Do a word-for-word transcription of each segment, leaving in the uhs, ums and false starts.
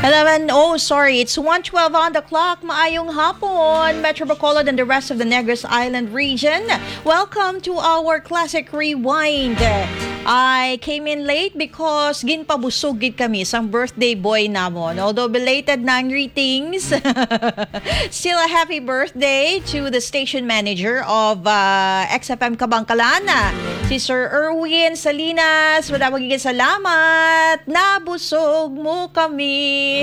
Eleven, oh, sorry, it's one twelve on the clock. Maayong hapon, Metro Bacolod and the rest of the Negros Island region. Welcome to our Classic Rewind. I came in late because ginpabusog gid kami sang birthday boy namon. Although belated na ang greetings, still a happy birthday to the station manager of uh, X F M Kabangkalan, si Sir Erwin Salinas. Madamo gid salamat. Nabusog mo kami.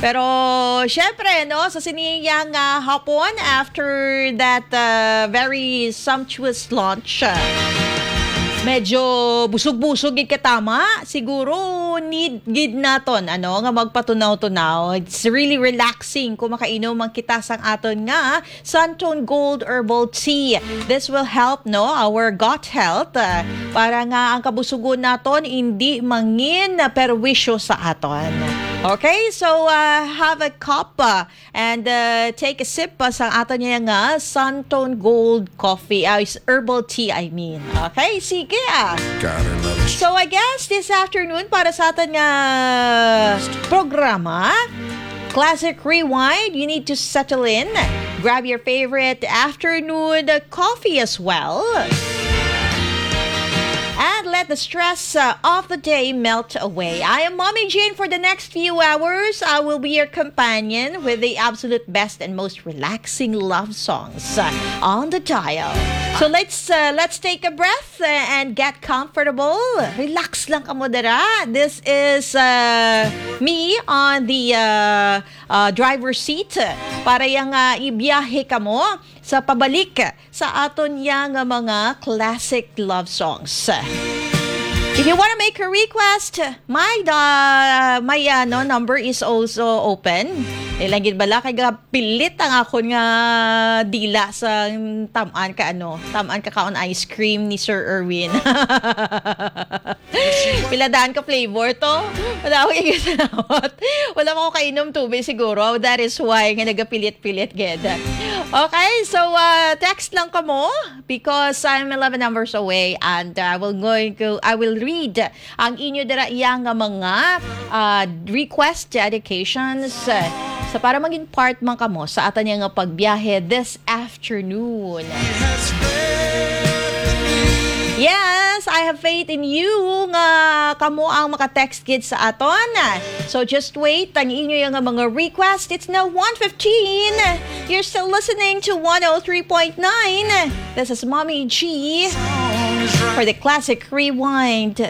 Pero, syempre, no, sa siniyang uh, hapon, after that uh, very sumptuous lunch, uh, medyo busog-busog gid katama. Siguro, need gid naton, ano, nga magpatunaw-tunaw. It's really relaxing kung makainom ang kita sang aton nga Santone Gold Herbal Tea. This will help, no, our gut health, uh, para nga ang kabusugon naton hindi mangin perwisyo sa aton. Okay, so uh, have a cup uh, and uh, take a sip uh, sa aton niya nga Santone Gold Coffee, uh, is herbal tea, I mean. Okay, sige ah. Gotta love it. So I guess this afternoon para sa aton nga programa, Classic Rewind, you need to settle in. Grab your favorite afternoon coffee as well. And let the stress uh, of the day melt away. I am Mommy Jane. For the next few hours, I will be your companion with the absolute best and most relaxing love songs uh, on the dial. So let's uh, let's take a breath uh, and get comfortable. Relax lang kamo dira. This is uh, me on the uh, uh, driver's seat para yang uh, ibiyahe kamo sa pabalik sa aton yang mga classic love songs. If you wanna make a request, my da, my ano, number is also open. Ilang gid bala kay gapilit ang akon nga dila sa taman ka ano, taman ka kaon ice cream ni Sir Erwin. Pila daan ka flavor to? Wala akong igisalawat. Wala man ko kainom tubig siguro. That is why nga nagapilit-pilit gid. Okay, so uh, text lang kamo because I'm eleven numbers away and uh, I will going to I will read ang inyo dira iya nga mga uh, request dedications uh, sa para maging part man kamo sa atan nga pagbiyahe this afternoon. Yes, I have faith in you nga kamo ang maka-text gid sa aton. So just wait, ang inyo nga mga request. It's now one fifteen. You're still listening to one oh three point nine. This is Mommy G for the Classic Rewind.